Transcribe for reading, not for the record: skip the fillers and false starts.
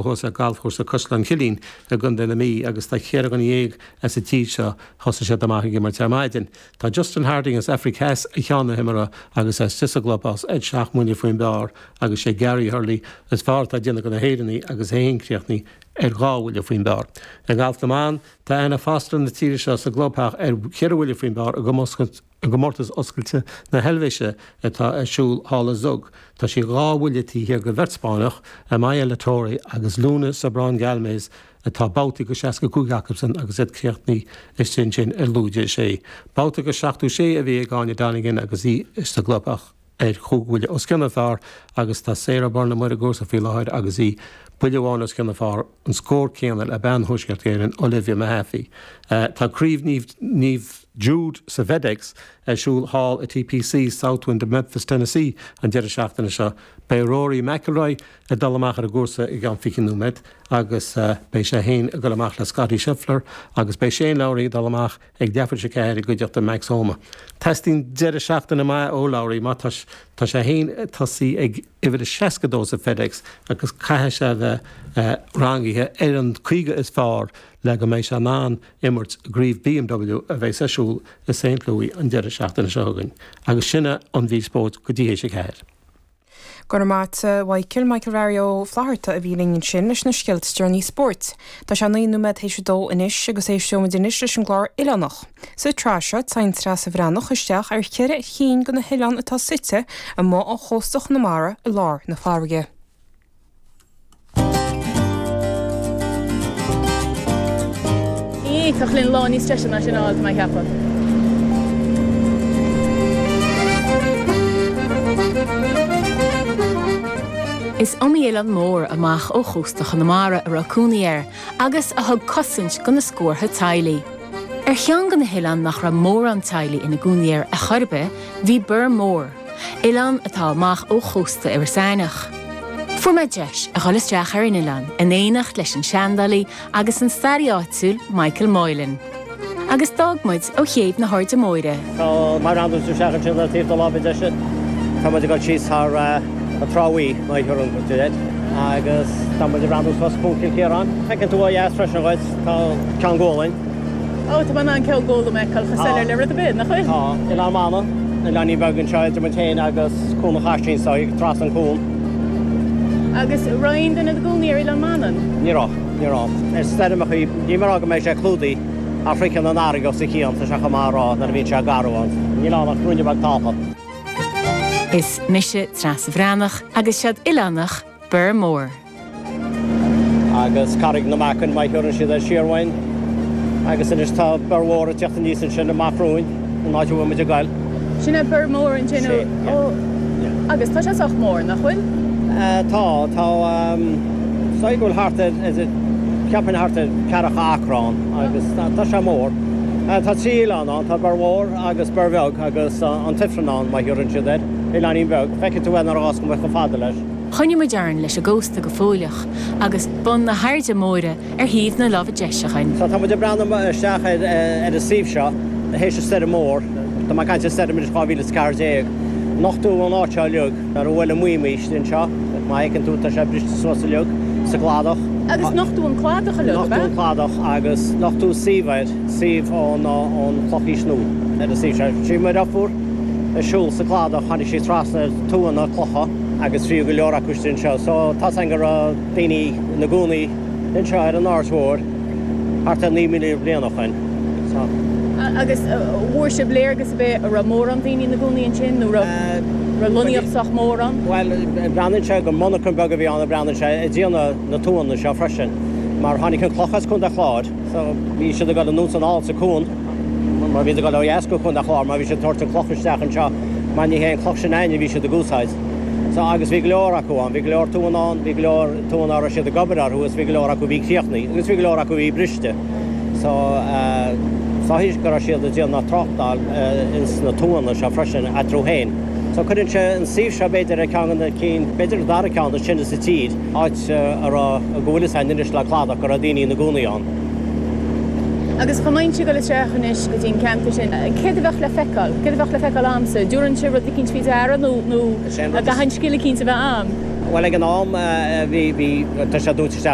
Thuas ar Galfchúrsa Caisleán Chillín i gContae na Mí agus tá 14 dhuine as an tír seo, thosaigh siad amach ag imirt ar maidin. Tá Justin Harding as Aifric Theas ar cheann na himeartha agus é istigh sa gclubhouse ar sheacht mbuille faoin bpar agus sé Gary Hurley is fearr atá ag déanamh de na hÉireannaigh agus é féin críochnaithe ar dhá bhuille faoin bpar. I ngalf na mban, tá Anna Foster na tíre seo sa gclubtheach ar cheithre bhuille faoin bpar i gcomórtas i gComórtas Oscailte na hEilvéise atá ar siúl thall i Zug. Tá sí 2 bhuille taobh thiar de bheirt Spáinneach, Amaia Latorre agus Luna Sobron Galmes, atá babhtaí go 65 acusan agus iad críochnaithe istigh ansin ar lúide 6. Babhta go 76 a bhí ag Áine Donegan agus í sa gclubtheach. ar chúig bhuille os cionn an phar agus tá Sarah Byrne amuigh ar an gcúrsa faoi láthair agus í buille amháin os cionn an phar, an scór céanna le bean Thuaisceart Éireann, Olivia Mehaffey. Tá Craobh Naomh Jude sa bhFedEx ar siúl thall i TPC Southwind i Memphis, Tennessee an deireadh seachtaine seo. Beidh Rory McIlroy ag dul amach ar an gcúrsa i gceann 20 nóiméad agus beidh sé féin ag dul amach le Scottie Scheffler agus beidh Shane Lowry ag dul amach ag leathuair tar éis a 4 i gcuideachta Max Homa. Teastaíonn deireadh seachtaine maith ó Lowry mar tá tá sé féin ag tosaí ag uimhir a 62 sa FedEx agus caithfidh sé a bheith rangaithe ar an 50 is fearr le go mbeidh sé in ann imirt i gCraobh BMW a bheas ar siúl i Saint Louis an deireadh seachtaine seo chugainn. Agus sin é an mhír spóirt go dtí théis a 4. Go raibh maith a't, a Mhichael. Michael Mhary Ó Flatharta a bhí linn ansin leis na scéalta is deireanaí spóirt. Tá sé 9 nóiméad théis a dó anois agus éisteoimid anois leis an gclár Oileánach. Sa tsraith seo, téann Treasa Bhreathnach isteach ar cheithre chinn de na hoileáin atá suite amuigh ó chósta Chonamara i lár na farraige. Ní thiocfadh linn lá níos deise ná sin a fháil, tá mé ag ceapadh. Is iomaí oileán mór amach ó chósta Chonamara a raibh cónaí air agus a thug cosaint do na scórtha teaghlaigh. Ar cheann de na hoileáin nach raibh mórán teaghlaigh ina gcónaí air ar chor ar bith, bhí Bior Mór, oileán atá amach ó chósta Iorras Aithneach. Fuair mé deis a dhul isteach ar an oileán in éineacht leis an seandálaí agus an staraí áitiúil Michael Moylan. Agus d'fhág muid ó chéibh na hAirde Móire. Tá má bhreathnaíonn tú isteach ansin ar taobh do láimhe deise, tá muid ag dul síos thar an Trá Bhuí, má thiúrann tú air, agus tá muid ag breathnú suas Cuan Chill Chiaráin. Feiceann tú ó dheas freisin dhuit, tá Ceann Gualainn. Ó, tá mé in ann Ceann Gólaim a fheiceáil chomh soiléir le rud ar bith, nach bhfuil? Tá. Oileán Mhanann, oileáinín beag anseo idir muid féin agus Cuan an Chaistín, so trasna an cuan. Agus raibh aon duine ina gcónaí ar Oileán Mhanann? Ní raibh, ní raibh. Is stoirmeachaí, níl mé ag rá go mbeidh sé clúdaithe ach shroicheann an fharraige os a chionn, tá sé chomh maith a rá nuair a bhíonn sé garbh ann. Níl ann ach ruainne beag talctha. Is mise Treasa Bhreathnach agus seod oileánach Bior Mór. Agus Carraig na Macan má thiúrann siad air siar uainn. Agus anois tá Bior Mhór ag teacht aníos ansin amach romhainn, an áit a bhfuil muid ag goil. Sin é Bior Mór ansin ó, ó, agus tá sé sách mór, nach bhfuil? Tá, tá, is dóigh go bhfuil thart ar, cheapfainn thart ar ceathracha acra ann agus tá sé mór. Tá trí oileán ann, tá Bior Mhór agus Bior Bheag agus an tIfreann ann má thiúrann siad air, oileáinín beag. Feicfidh tú é nuair a ghabhfas muid chomh fada leis. Choinnigh muid orainn leis an gcósta go fóilleach agus bun na hAirde Móire ar thaobh na láimhe deise againn. So tá muid ag breathnú isteach ar an suíomh seo théis an stoirm mór, tá mé ag caint ar stoirm anois 2014, nochtadh an áit seo uilig nuair a bhuail an maidhm istigh anseo, má fheiceann tú tá sé briste suas uilig sa gcladach. Agus nochtadh an cladach uilig, ab ea? Nochtadh an cladach agus nochtadh suíomh air, suíomh ón Chlochaois Nua ar an suíomh seo. Sí mo dheirfiúr ag siúl sa gcladach tháinig sí trasna ar tuanna clocha. agus bhí go leor acu istigh anseo. So tá's againn go raibh daoine ina gcónaí anseo ar an Aird Mhór thart ar 9,000 bliain ó shoin. So. Agus bhfuair sibh léargas ar bith an raibh mórán daoine ina gcónaí ansin nó raibh raibh lonnaíocht sách mór ann? Bhuel, breathnaíonn sé gur monarcha beag a bhí ann a breathnaíonn sé ag déanamh na tuanna seo freisin mar tháinig an cloch as Contae Chláir so bhí siad ag dul anuas anall sa cuan mar bhí siad ag dul ó dheas go Contae Chláir mar bhí siad ag tabhairt an cloch isteach anseo mar ní hé an cloch sin againne a bhí siad ag úsáid. So, agus bhí go leor acu ann, bhí go leor tuanna ann, bhí go leor tuanna a raibh siad ag obair orthu agus bhí go leor acu a bhí críochnaithe agus bhí go leor acu a bhí briste. So, is dóichí go raibh siad ag déanamh tráchtáil ins na tuanna seo freisin eatarthu féin. So, cuireann sé an suíomh seo b'fhéidir ar ceann de na cinn, b'fhéidir an dara ceann is sine sa tír, áit a raibh, go bhfuil fhios againn anois le cladach go raibh daoine ina gcónaí ann. Agus dá mbeinnse ag dul isteach anois go dtí an ceantar sin, céard a bheadh le feiceáil? Céard a bheadh le feiceáil a'msa? Dtabharfainnse rud eicínt faoi deara nó nó an gcaithfinn scil eicínt a bheith a'm? Bhuel ag an am bhí, bhí, tá sé dúnta isteach.